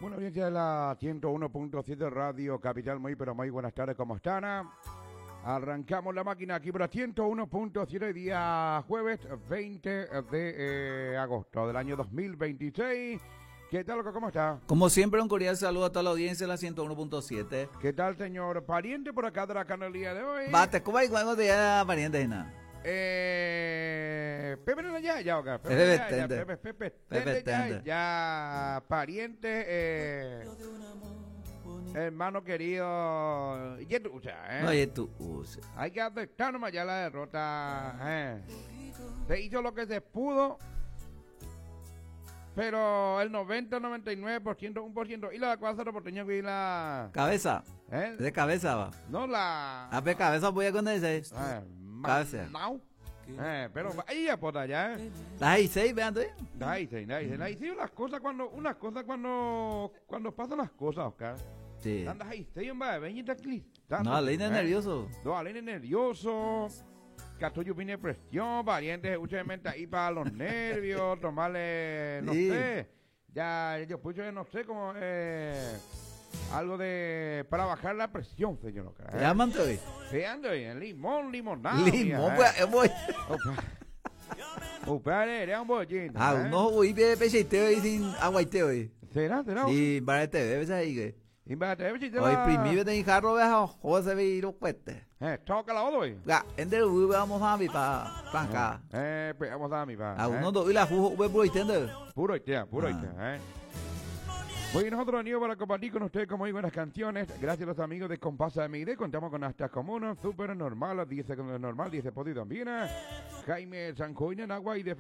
Bueno, audiencia de la 101.7 Radio Capital, muy pero muy buenas tardes, ¿cómo están? Arrancamos la máquina aquí por la 101.7, día jueves 20 de agosto del año 2026. ¿Qué tal, loco? ¿Cómo está? Como siempre, un cordial saludo a toda la audiencia de la 101.7. ¿Qué tal, señor pariente por acá de la canalía de hoy? Bate, ¿cómo hay cuando te llama pariente, nada? Pepe no ya, ya, oga. Pepe, ya, Pepe, Pepe, Pepe, ya, ya, pariente, hermano querido, y tú, o sea, No, y tú, Hay que aceptar nomás ya la derrota. Se hizo lo que se pudo, pero el 90, 99%, 1%, y la cual se porteño y la... Cabeza. ¿Eh? De cabeza va. No la... A ver, cabeza voy a con ese. Cabeza. Pero ahí ya por allá, Las seis, vean, ¿eh? Las seis, las seis, las seis, unas cosas cuando, unas cosas cuando, cuando pasan las cosas, Oscar. Sí. Andas ahí, seis, hombre, ven y está No, Alina es nervioso. No, Alina es nervioso. Castillo viene presión, parientes, últimamente ahí para los nervios, tomarle, no sé. Ya, yo puse, no sé, como, algo de, para bajar la presión, señor Oscar. ¿Te llaman hoy? Sí, ando bien, limón, limonada. Limón, pues, voy. Opa, era un bollín. Ah, uno voy de pecheiteo y sin aguaiteo hoy. ¿Será, será? Sí, barete, bebes ahí, que. Y barete, bebes Hoy primi de jarro, veja, José ve y lo cueste. Toca la hoy. Ya, en el vamos a mi pa, tranca. Pues vamos a mi pa. A uno do y la jugo, ve puro itende. Puro itea, puro itea, Bueno, nosotros venimos para compartir con ustedes como muy buenas canciones. Gracias a los amigos de Compasa MID. Contamos con hasta Común, Super Normal, 10 normal, 10 podido también. Jaime Sanjoina en agua y defensa.